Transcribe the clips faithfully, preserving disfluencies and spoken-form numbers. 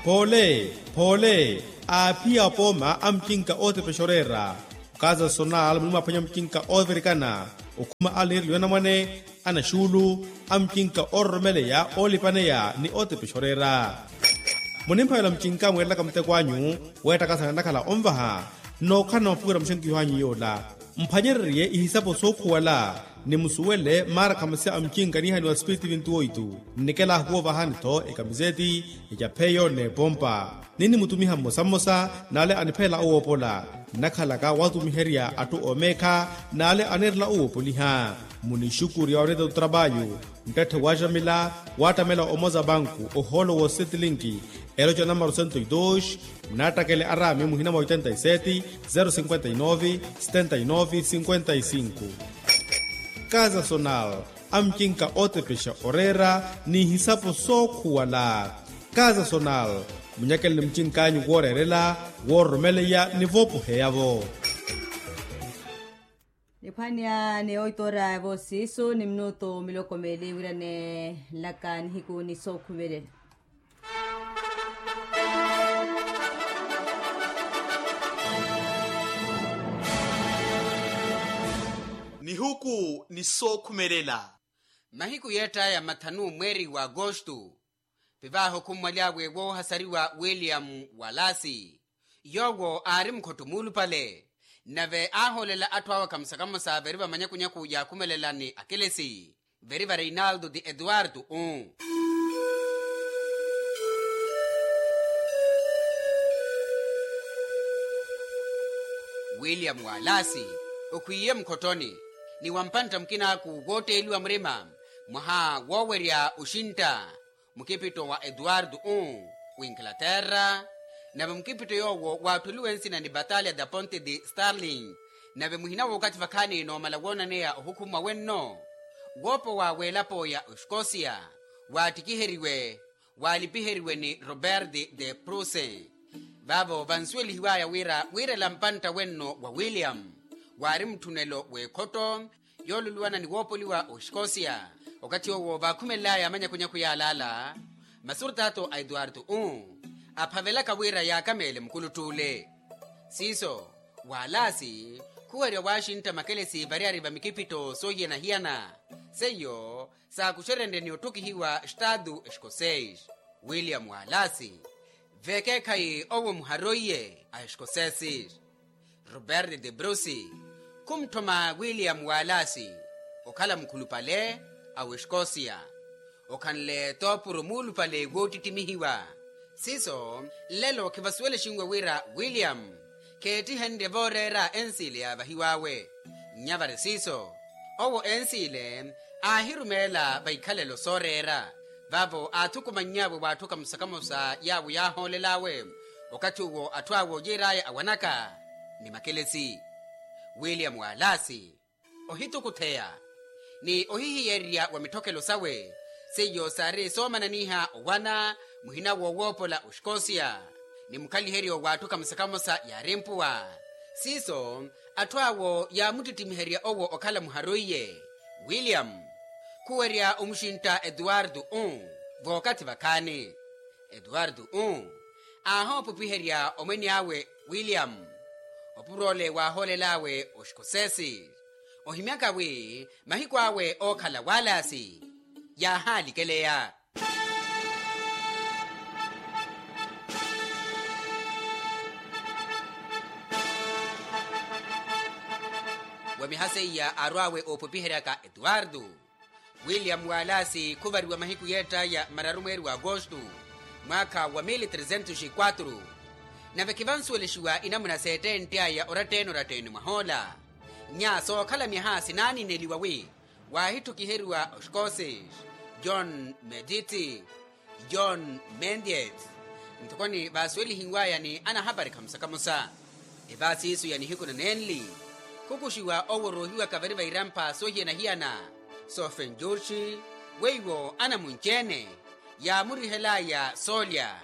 Phoole, phoole, aaphiya apooma a mucinka ootepexa oreera. Okaza sonal muli mwaaphwanya mucinka oovirikana, okhuma aliniriliwa anamwane, anaxuulu, a mucinka oororomeleya oolipaneya ni ootepexa oreera. Munimphavela mucinka mweerelaka muteko anyu, weettakasana nnakhala onvaha, nnookhalana mapuwela muxenkiho anyu yoola. Mphwanyererye ihisapo sookhuwala, ni musuwele maarakhamasi a mucinka niihaniwa spiritu vintu oitu. Nnikela ahukuwa ovahani-tho ekamiseti, ecapheyo n'epompa. Ninnimutumiha mmosa mmosa n'ale aniphelela owoopola. Nnakhalaka waatumiherya atthu oomeekha n'ale anirela owoopoliha. Munixukurya oreeta otrapayu, nttette waaxamila, waattamela omoza banku ohoolo woosetlinki, eloca namaro sento e dos. Munaattakele araami muhina mwa oitenta e seti, zero cinquenta e nove, setenta e nove cinquenta e cinco. Kaza sonal, a mucinka ootepexa oreera, n'ihisapo sookhuwala. Kaza sonal, munyakele ni mucink'anyu wooreerela, woororomeleya ni voopoheya-vo. Niphwanya ni oitora ya voosiisu ni minutu miloko meeli wira neelaka nihiku ni sookhumelela. Nihiku ni sookhumelela. Mahiku yeett'aya mathanu mweeri wa agosto, pivaaha okhummwaly'awe woohasariwa william walasi, yoowo aari mukhotto muulupale, nave aahoolela atthu awe akamusa kamusa veri vamanyakunyaku yaakhumelela ni akelesi veri va reinaldo ti etuwartu u. William walasi okhwiiye mukhottoni, ni wampantta mukinaaku wootteeliwa murima mwaha woowerya oxintta mukipitto wa etuwartu u w'inglaterra. Nave mukipitto yoowo waatthuliwe nsina ni batalya da ponte de starling. Nave muhina w'okathi vakhaani noomala woonaneya ohukhumwa wenno, woopowa w'elapo ya oxikosia waattikiheriwe, waalipiheriwe ni robert de pruse. Vaavo vansuwelihiw'aya wira wiirela mpantta wenno wa william waari mutthunelo w'ekhotto yooluluwana ni woopoliwa oxikosia. Okathi owo vaakhumelel'aya amanyakunyaku yaalaala, masurtato a etuwartu u aphavelaka wira yaakameele mukulutt'ule. Siiso, walasi khuwerya waaxintta makelesi variyari va mikipitto soohiyana-hiyana, seiyo saakuxerenrye ni otthukihiwa estatu exikoseis. William walasi vekeekhayi owo muharoiye a exikosesis. Robert de bruce khumutthoma william walasi okhala mukhulupale a wexikosia, okhanle toopuro muulupale woottittimihiwa. Siiso, nlelo khivasuwelexinwe wira william kheettihenrye vooreera ensiile yaavahiw'awe. Nnya vari siiso, owo ensiile aahirumeela vaikhalelo sooreera. Vaavo aathukumanny'awe w'atthu kamosa-kamosa yaawo yaahoolel'awe okathi owo atthu awe oojiir'aya awanaka ni makelesi. William walasi ohitukutheya ni ohihiyererya wa mitthokelo sawe, seiyo saari soomananiha owana muhina woowoopola oxikosia ni mukhaliheryo w'atthu kamosa-kamosa yaari mpuwa. Siiso, atthu awo yaamuttittimiherya owo okhala muharoiye. William khuwerya omuxintta etuwartu u vookathi vakhaani. Etuwartu u aahoopupiherya omwene awe william, opuro ole waahoolel'awe oxikosesi ohimyaka wi mahiku awe ookhala walasi yaahalikeleya. Wamiha seiya arw'awe oopopiheryaka etuwartu, william walasi khuvariwa mahiku yeett'aya mararu mweeri wa agosto mwaakha wa mili tresentos e quatro. Nave khivansuwelexiwa inamuna seettentte aya oratteen'oratteen'e mwahoola. Nya sookhala myaha sinaanineliwa wi waahitthukiheriwa oxikosis, john mediti, john mendiet. Nthokoni vaasuwelihiw'aya ni anahapari khamusa-khamusa. Evaasiiso ya nihiku nanenli khukuxiwa owo oroohiwaka vari va irampha soohiyana-hiyana, soofenjurxi weiwo anamunci-ene yaamurihel'aya soolya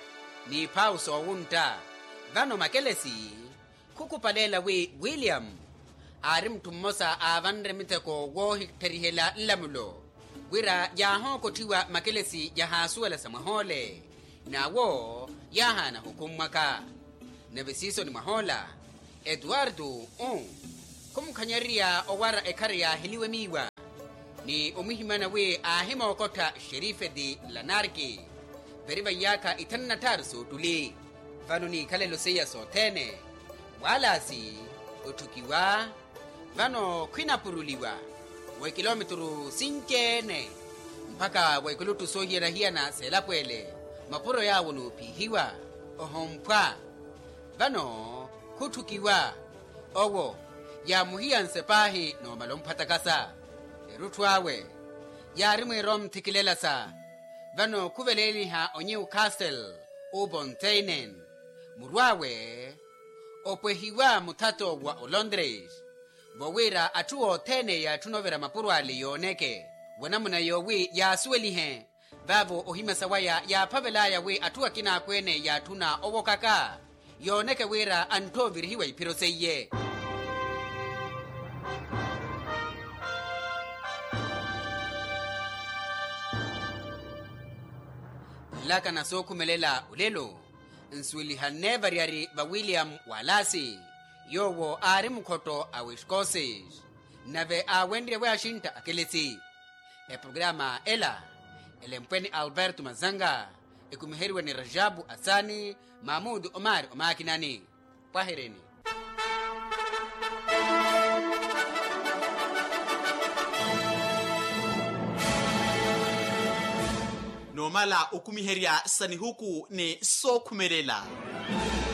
n'iphawu soowuntta. Vano makelesi khukhupaleela wi william aari mutthu mmosa aavanre mitheko woohitterihela nlamulo wira yaahookotthiwa makelesi yahaasuwela sa mwahoole. N'awo yaahaana ohukummwaka. Nave siisoni mwah'ola etuwartu u khumukhanyererya owara ekhara yaaheliwe miiwa ni omwihimana wi aahimookottha xerifeti lanarki. Veri va iyaakha ithanu na tthaaru soottuli vano n'ikhalelo seiya sothene waalasi otthukiwa. Vano khwinapuruliwa wa ekilomituru sinci-ene mpakha wa ekuluttu soohiyana-hiyana s'elapo ele. Mapuro yaawo n'ophiihiwa ohomphwa. Vano khutthukiwa owo yaamuhiyanse paahi n'omala omphwatakasa. Erutthu awe yaari mwiira omthikilelasa. Vano khuveleeliha onyiwu castle uponteinen muru awe opwehiwa muthato wa olondres. Vo wira atthu othene yaatthuna ovira mapuro ale yooneke wa namuna yoowi yaasuwelihe. Vaavo ohimyasa waya yaaphavel'aya wi atthu akina akweene yaatthuna owokaka yooneke wira antthoovirihiwa iphiro seiye. Nlakana sookhumelela olelo nsuwelihanne variyari va william walasi yoowo aari mukhotto a wescoces nave aawenrye wi axintta akelesi. Eprograma ela elempwe ni alberto mazanga ekumiheriwe ni rajabu asani mamudu omari omakinani. Pwahereni. N'omala okumiherya sa nihuku ni sookhumelela.